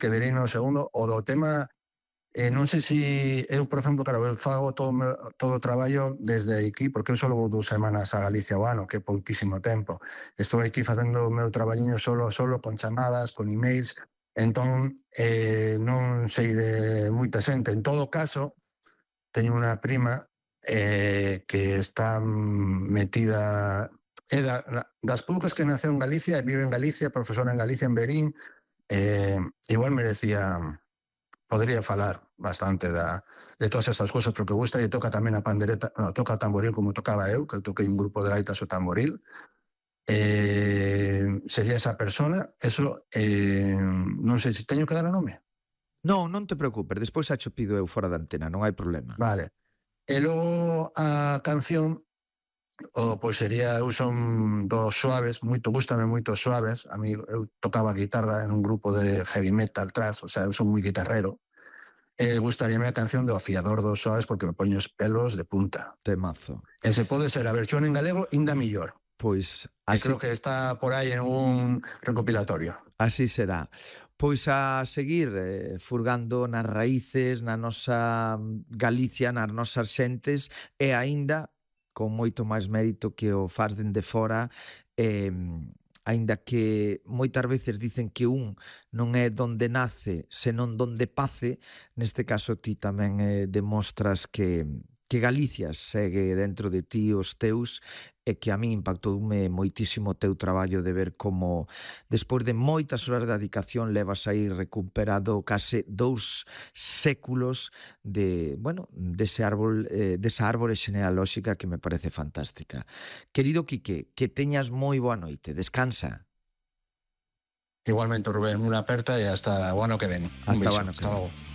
quedarei no segundo. O do tema, non sei se eu, por exemplo, claro, eu fago todo o traballo desde aquí, porque eu só vou 2 semanas a Galicia ao ano, que é pouquísimo tempo. Estou aquí facendo o meu traballiño solo, con chamadas, con emails, entón non sei de moita xente. En todo caso, teño unha prima que está metida, das poucas que naceu en Galicia e vive en Galicia, profesora en Galicia, en Verín. Igual merecía, podría falar bastante de todas esas cousas, porque gusta e toca tamén a pandereta, no, toca o tamboril como tocaba eu, que eu toquei un grupo de gaitas o tamboril. Sería esa persona. Eso, non sei se teño que dar o nome. Non, non te preocupes, despois xa cho pido eu fora da antena, non hai problema. Vale. E logo a canción, pois sería, eu son dos Suaves, gústame moito Suaves. A mí, eu tocaba guitarra en un grupo de heavy metal thrash, o sea, eu son moi guitarrero. Gustaríame a canción do Afiador dos Suaves, porque me poño os pelos de punta. Temazo. E se pode ser a versión en galego, inda millor. Pois así, creo que está por aí en un recopilatorio. Así será. Pois a seguir furgando nas raíces, na nosa Galicia, nas nosas xentes, e aínda con moito máis mérito que o faz dende fora, aínda que moitas veces dicen que un non é donde nace, senón donde pace. Neste caso ti tamén demostras que Galicia segue dentro de ti, os teus, e que a mí impactoume moitísimo o teu traballo de ver como despois de moitas horas de dedicación levas aí recuperado case 2 séculos de, bueno, desa árbore xenealóxica que me parece fantástica. Querido Quique, que teñas moi boa noite, descansa. Igualmente, Rubén, unha aperta e hasta o ano que ven. Un beijo. Hasta logo.